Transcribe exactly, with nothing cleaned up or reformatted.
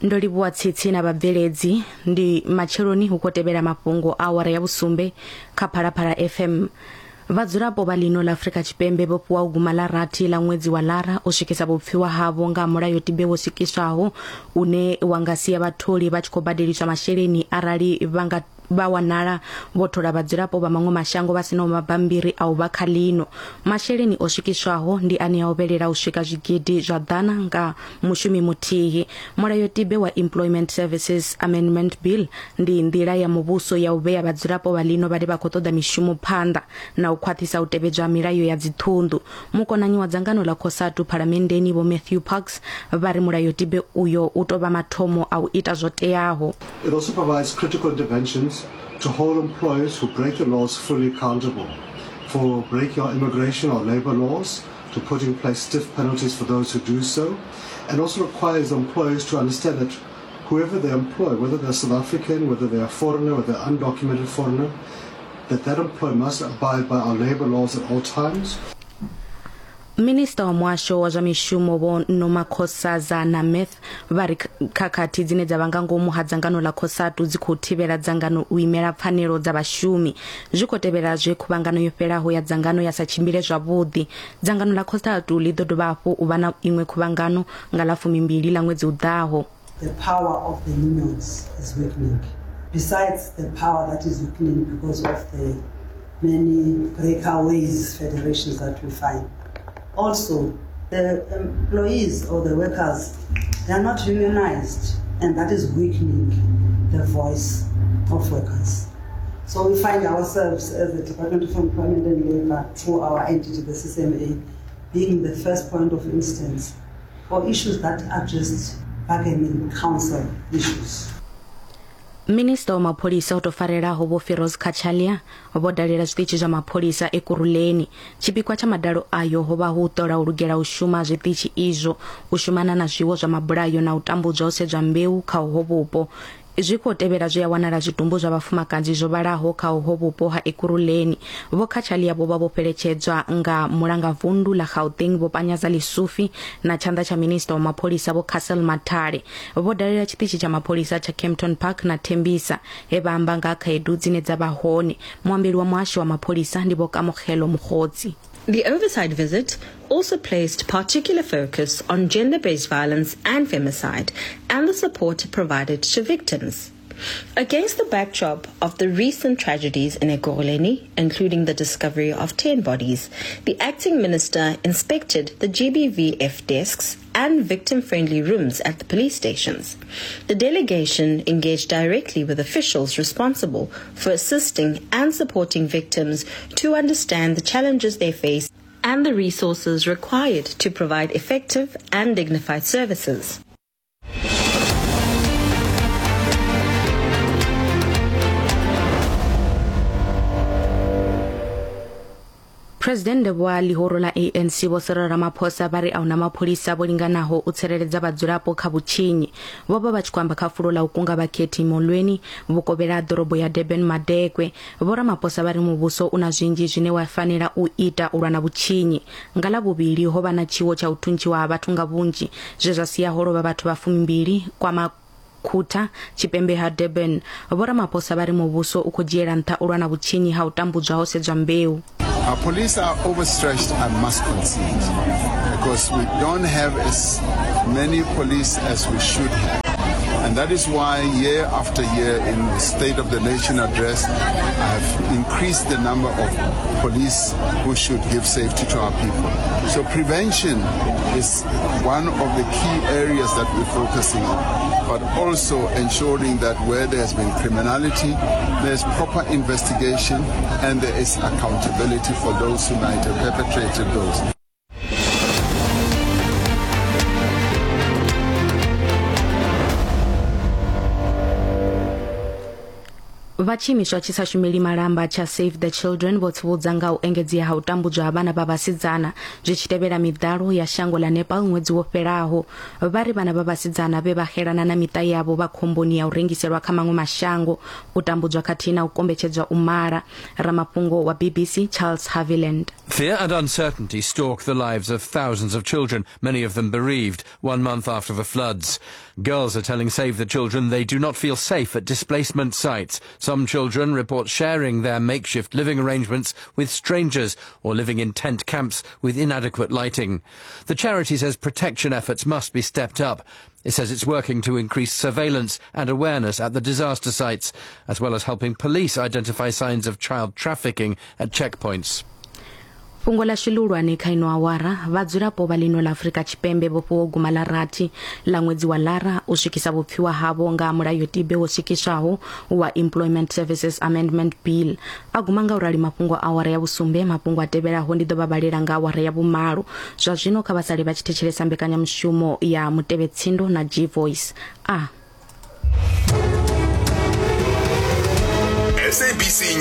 Ndo livhuwa tsitsi na vhabveledzi. Ndi matsheloni hu khou tevhela mafhungo awara ya vhusumbe kha Phalaphala F M. Vhadzulapo vha ḽino ḽa Afrika Tshipembe vho fhiwa u guma ḽa rathi ḽa ṅwedzi wa Lara u swikisa vhupfiwa havho nga mulayotibe wo swikiswaho une wa nga sia vhatholi vha tshi khou badeliswa masheleni arali vha nga vha wanala vho thola vhadzulapo vha maṅwe mashango vha sinaho mabambiri a u vha kha ḽino. Masheleni o swikiswaho ndi ane a ovhelela u swika zwigidi zwa ḓana nga mushumi muthihi. Mulayotibe wa Employment Services Amendment Bill ndi nḓila ya muvhuso ya u vhea vhadzulapo vha ḽino vhane vha khou ṱoḓa mishumo phanḓa na u khwaṱhisa u tevhedzwa milayo ya dziṱhunḓu. Mukonanyi wa dzangano ḽa COSATU phalamenndeni Vho Matthew Parks vha ri mulayotibe uyo u tou vha mathomo a u ita zwo teaho. It also provides critical interventions to hold employers who break the laws fully accountable for breaking our immigration or labor laws, to put in place stiff penalties for those who do so, and also requires employers to understand that whoever they employ, whether they're South African, whether they're a foreigner, whether they're undocumented foreigner, that that employer must abide by our labor laws at all times. Minista wa muhasho wa zwa mishumo Vho Nomakhosazana Meth vha ri khakhathi dzine dza vha nga ngomu ha dzangano ḽa COSATU dzi khou thivhela dzangano u imela pfanelo dza vhashumi. Zwi khou tevhela zwe khuvhangano yo fhelaho ya dzangano ya sa tshimbile zwavhuḓi. Dzangano ḽa COSATU ḽi ḓo dovha hafhu u vha na iṅwe khuvhangano nga ḽa fumimbili ḽa ṅwedzi u ḓaho. The power of the unions is weakening. Besides the power that is weakening because of the many breakaways federations that we find. Also, the employees or the workers, they are not unionized, and that is weakening the voice of workers. So we find ourselves as the Department of Employment and Labour, through our entity, the C C M A, being the first point of instance for issues that are just bargaining council issues. Minista wa mapholisa o tou farelaho Vho Firoz Cachalia vho dalela zwiṱitshi zwa mapholisa Ekurhuleni. Tshipikwa tsha madalo ayo ho vha hu u ṱola u lugela u shuma zwiṱitshi izwo, u shumana na zwiwo zwa mabulayo na u tambudzwa ho sedzwa mbeu kha uho vhupo. Zwi khou tevhela zwe ya wanala zwitumbu zwa vhafumakadzi zwo vhalaho kha uho vhupo ha Ekurhuleni. Vho Cachalia vho vha vho fheletshedzwa nga mulangavundu ḽa Gauteng Vho Panyaza Lesufi na tshanḓa tsha minista wa mapholisa Vho Cassel Mathale. Vho dalela tshiṱitshi tsha mapholisa tsha Kempton Park na Tembisa he vha amba nga khaedu dzine dza vha hone. Muambeli wa muhasho wa mapholisa ndi Vho Kamogelo Mokgotsi. The oversight visit also placed particular focus on gender-based violence and femicide and the support provided to victims. Against the backdrop of the recent tragedies in Ekurhuleni, including the discovery of ten bodies, the acting minister inspected the G B V F desks and victim-friendly rooms at the police stations. The delegation engaged directly with officials responsible for assisting and supporting victims to understand the challenges they face and the resources required to provide effective and dignified services. President wa ḽihoro ḽa A N C Vho Cyril Ramaphosa vha ri a huna mapholisa vho linganaho u tsireledza vhadzulapo kha vhutshinyi. Vho vha vha tshi khou amba kha fulo ḽa u kunga vhakhethi Molweni vhukovhela ha ḓorobo ya Durban Madekwe. Vho Ramaphosa vha ri muvhuso u na zwinzhi zwine wa fanela u ita u lwa na vhutshinyi. Nga ḽa vhuvhili ho vha na tshiwo tsha u thuntshiwa ha vhathu nga vhunzhi zwe zwa sia ho lovha vhathu vha fumimbili kwa Khuta tshipembe ha Durban. Vho Ramaphosa vha ri muvhuso u khou dzhiela nṱha u lwa na vhutshinyi ha u tambudzwa ho sedzwa mbeu. Our police are overstretched, I must concede, because we don't have as many police as we should have. And that is why year after year in the State of the Nation address, I have increased the number of police who should give safety to our people. So prevention is one of the key areas that we're focusing on, but also ensuring that where there has been criminality, there's proper investigation and there is accountability for those who might have perpetrated those. Vha tshiimiswa tshi sa shumeli malamba tsha Save the Children vho tsivhudza nga u engedzea ha u tambudzwa ha vhana vha vhasidzana zwi tshi tevhela miḓalo ya shango ḽa Nepal ṅwedzi wo fhelaho. Vha ri vhana vha vhasidzana vhe vha xelana na miṱa yavho vha khomboni ya u rengiselwa kha maṅwe mashango, u tambudzwa khathihi na u kombetshedzwa u mala. Ramafhungo wa B B C Charles Haviland. Fear and uncertainty stalk the lives of thousands of children, many of them bereaved, one month after the floods. Girls are telling Save the Children they do not feel safe at displacement sites. Some children report sharing their makeshift living arrangements with strangers or living in tent camps with inadequate lighting. The charity says protection efforts must be stepped up. It says it's working to increase surveillance and awareness at the disaster sites, as well as helping police identify signs of child trafficking at checkpoints. Fhungo ḽashu ḽihulwane kha ino awara, vhadzulapo vha ḽino ḽa Afrika Tshipembe vho fhiwa guma ḽa rathi ḽa ṅwedzi wa Lara u swikisa vhupfiwa havho nga mulayotibe wo swikiswaho wa Employment Services Amendment Bill. A guma nga u rali mafhungo awara ya vhusumbe. Mafhungo a tevhelaho ndi ḓo vha vhalela nga awara ya vhumalo. Zwa zwino kha vha sale vha tshi thetshelesa mbekanyamushumo ya Mutevhetsindo na G Voice. A S A B C.